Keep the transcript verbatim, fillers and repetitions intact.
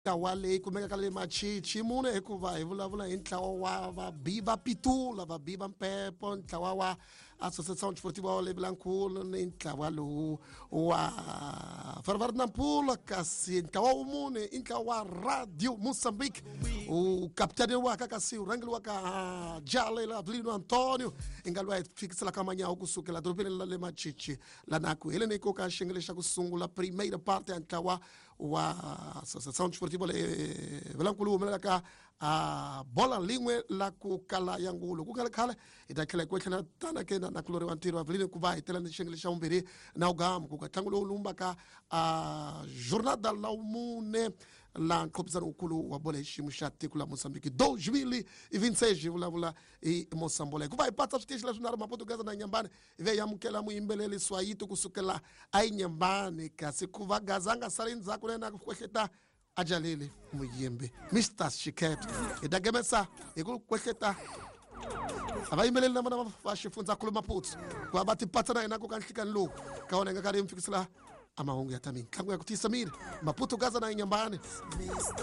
Ntlawa leyi kumekaka le Machichi mune hikuva hi vulavula hi ntlawa wa vabi va pitula, vabi va mpepo, ntlawa wa Associação Desportiva le Vilankulu ni ntlawa lowu wa Ferroviário Nampula. Kasi ntlawa wa mune i ntlawa wa Radio Moçambique, u kapitaniwaka kasi u rhangeliwaka Jalela Avelino Antonio, i nga lwa hi fikiselaka manyawu kusukela dorobeni la le Machichi lana ku heleni ko ka xiyenge xa ku sungula, primeira parte ya ntlawa wa Associação Desportiva le Vilankulu humelelaka a bola lin'we la ku kala ya ngulo. Ku nga ri khale hi ta tlhela hi ku tlhela tana ke na nakulori wa ntirho Avelino ku va hi tela ni xiyenge xa vumbirhi na wugamu ku ka ntlangu lowu lumbaka a jornada la mune la nqophisano wukulu wa bola hi xiyimo xa tiko la Mozambique twenty twenty-six. Hi vulavula hi Mosambola hikuva hi patsa switichi leswi nharhu, Maputo, Gaza na Nyambani. Hi ve hi amukela muyimbeleri Swayito kusukela ayinyambani, kasi ku va Gaza a nga sali ndzhaku na yena ku kwehleta a jaleli muyimbi Mister Shiket. Hi ta gemesa hi ku kwehleta a va yimbeleli na vona va xifundzankulu Maputo ku va va tipatsa na hina ku ka nhlikani lowu ka wona hi nga karhi hi mi fikisela a mahungu ya ta mitlangu ya ku tiyisa miri, Maputo, Gaza na Inyambani.